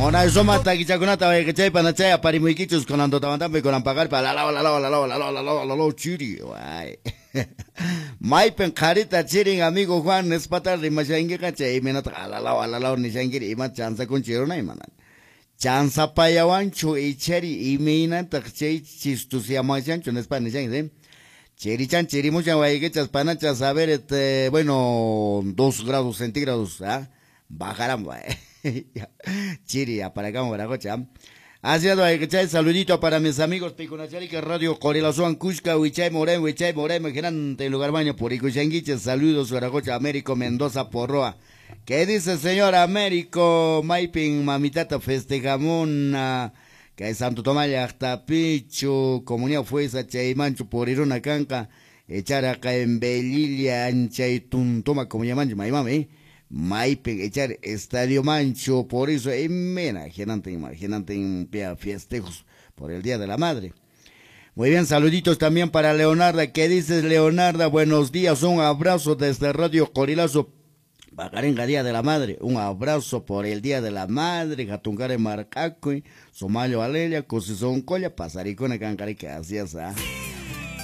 Munay suma takichakunata wayqichay panachay aparimuykichus kunan tutamantapi kunan paqarpa lalaw lalaw lalaw lalaw lalaw lalaw chiri way. Maypin qharita chirin amigo Juan nispata rimashankiqa chay imaynataq alalaw alalaw nishankiri ima chansakunchi runa imana. Chansapayawanchu ichari imaynataq chay chistusiamashanchu nispa nishanki, Chirichan, chirimuchan, wayqichas, panachas, a ver, bueno, 2 grados centígrados, ¿ah? Bajarán, Chiri, para acá, Guaracocha. Así es, saludito para mis amigos Picunacharica, Radio Corelazuan, Cusca, Huichay, Morén, Huichay, Morén, Gerante, Lugar Baño, Puricuchanguiche, saludos, Guaracocha, Américo, Mendoza, Porroa. ¿Qué dice señor Américo? Maipin, mamitata, festejamuna. Que Santo Tomás llaqtapichu, comunidad fuerza chaymanchu puriruna kanqa, echar en Belilla, anchay tuntuma como llamanchu, maymami, maypin echar estadio mancho, por eso imena, genante pia festejos por el Día de la Madre. Muy bien, saluditos también para Leonarda. ¿Qué dices, Leonarda? Buenos días, un abrazo desde Radio Corilazo. Bagarenga Día de la Madre, un abrazo por el Día de la Madre, Jatuncare Marcacuy, Somayo Alelia, Cosizón Colla, Pasaricona Cancarica, así es, ¿ah?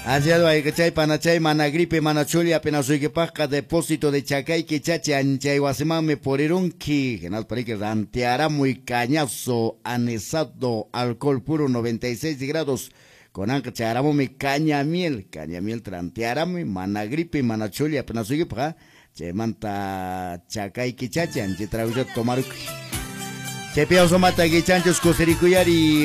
Así es, chay, panachay, mana gripe, mana chuli, apenas paja, depósito de chacay, quichache, anchay, guasimame, porirunqui, genal parique, ranteará muy cañazo, anesado, alcohol puro, 96 grados, con anca mi caña miel, trantearame, mana gripe, mana chuli, apenas paja, Chaymanta chakayki chachi anchi tragucha tomaruki. Chaypi mata kichanchus kusirikuyari.